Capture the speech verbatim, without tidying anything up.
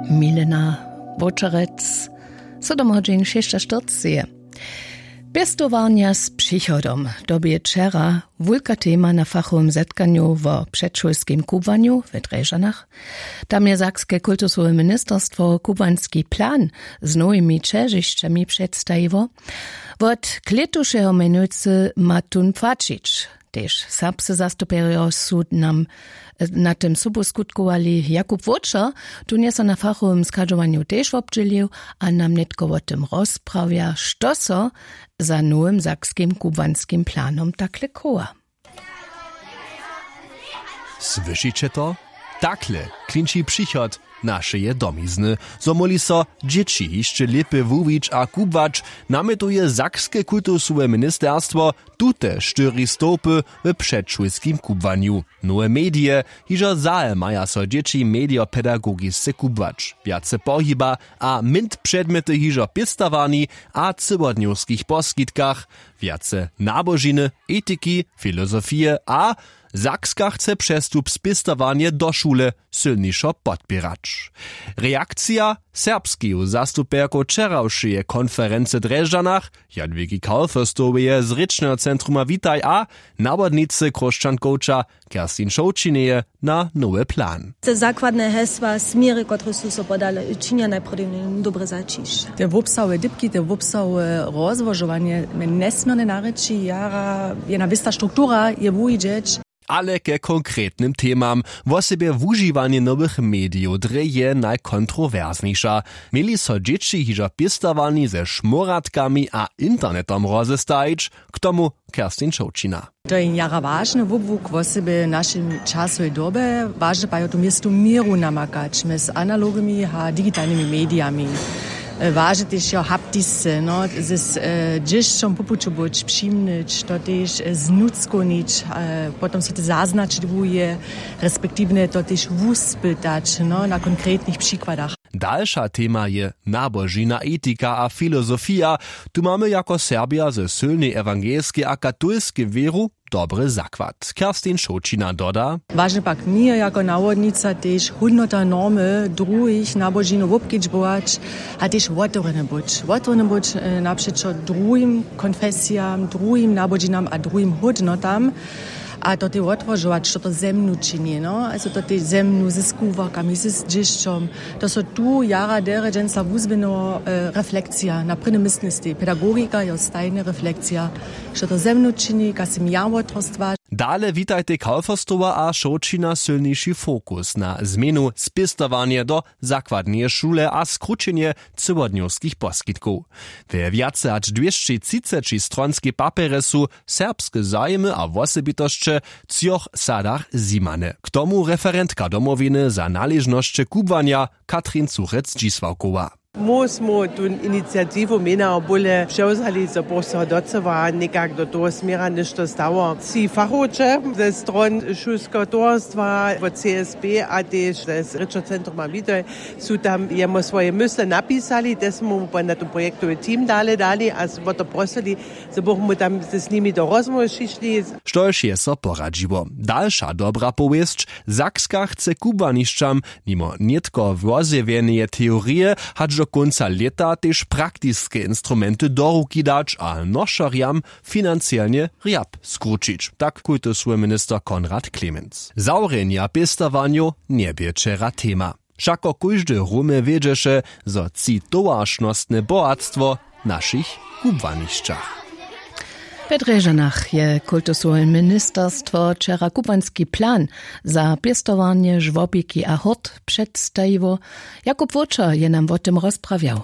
Milena Wočerec. Sydom hodźin šěsćaštyrceje. Pěstowarnja z přichodom, to bě wčera wulka tema na fachowym zetkanju wo předšulskim kubłanju w Drježdźanach. Tam je sakske kultusowe ministerstwo kubłański plan z nowimi ćežišćami předstajiło. Wot klětušeho mjenujcy ma tón płaćić. Tež serbscy zastupjerjo su nam na tym sobu skutkowali. Jakub Wóčer, tón je so na fachowym schadźowanju tež wobdźělił a nam nětko wo tym rozprawja, što so za nowym sakskim kubłanskim planom takle chowa. Słyšiće to? Takle klinči přichod našeje domizny, zo móhli so dźěći hišće lěpje wuwić a kubłać, namjetuje sakske kultusowe ministerstwo. Tute štyri stołpy w předšulskim kubłanju. Nowe medije. Hižo zahe maja so dźěći medijopedagogisce kubłać, wjace pohiba a mint předmjety hižo w pěstowarni a cyłodnjowskich poskitkach, wjace nabožiny, etiki, filozofije a Sakska chce přestup spěstowarnje do šule sylnišo podpěrać. Reakcija serbskeju zastupjerkow wčerawšeje konferency w Drježdźanach, Jadwigi Kaufestoweje z rěčneho centruma Witaj a nawodnicy Chróšćankowča Kerstin Šołćineje na nowy plan. Te zakładne hesła, směry, kotrež su so podale, činja najprjedy dobre zaćišće. Te wobsahowe dypki, te wobsahowe rozłožowanje mje njesměrnje narěči, jara jedna wěsta struktura je wuwidźeć. Ale ke konkretnym temam. Wosebje wužiwanje nowych medijow drje je najkontrowerznjejša. Měli so dźěći hižo w pěstowarni ze šmóratkami a internetom rozestajić? K tomu Kerstin Šołćina. To je jara wažny wobłuk wosebje w našej časowej dobje. Wažne pak je tu městu měru namakać mjez analognymi a digitalnymi medijami. Wažne tež jo haptisce, no, z dźěšćom po puću być, přimnyć to tež, znutřkownić, potom so te zaznačić wuje, respektiwnje to tež wuspytać, no, na konkretnych přikładach. Dalša tema je nabožina, etika a filozofija. Tu mamy jako Serbja ze sylnej ewangelskej a katolskej wěru dobry zakład. Kerstin Šołćina doda. Wažne pak mi jako nawodnica tež hódnota, normy druhich nabožinow wobkedźbować a tež wotewrjene być wotewrjene być, napřećo druhim konfesijam, druhim nabožinam a druhim hódnotam. A to tej wotłožować što to ze mnu čini, no, a so to tej ze mnu ze skubłarkami z dźěšćom. To so tu jara derje dźensa wuzběhnyło, reflekcija na prěnym městnistej pedagogika jo stajnje reflekcija, što to ze mnu čini, kaž sym ja wotrostła. Dale witajtej kaufestowa a šołćina sylniši fokus na změnu spěstowarnje do zakładneje šule a skrućenje cyłodnjowskich poskitkow. We wjace hač dwěsći třiceći stronskej papjerje su serbske zajimy a wosebitosće w třoch sadach zjimane. K tomu referentka domowiny za naležnosće kubłanja katrin cuchec dźisławkowa. Móž smy tu iniciatiwu měna bóle přewzali zo pošćeho docyła někak do toho směra něšto stało tři fachowče ze stron šulskeho towarstwa wot csb a tež z rěčocentruma widoj su tam jemu swoje mysle napisali te smy mu na ten projektowy team dale dali a smy to prosili, zo bychmy tam z nimi do rozmołwy přišli. Štož je so poradźiło? Dalša dobra powěsć. Sakska chce kubłanišćam nimo nětko wozjewjeneje teorije hač do kónca lěta tež praktiske instrumenty do ruki dać a nošerjam financielnje rjap skrućić, tak kultusowy minister konrad klemenc. Zawrjenja pěstowarnjow njebě wčera tema. Wšako kóždy rumy wědźeše, zo tři towaršnostne bohatstwo w našich kubłanišćach. We drježanach je kultusowe ministerstwo wčera kubłanski plan za pěstowarnje žłobiki a hort předstajiło. Jakub wóčer je nam wo tym rozprawjał.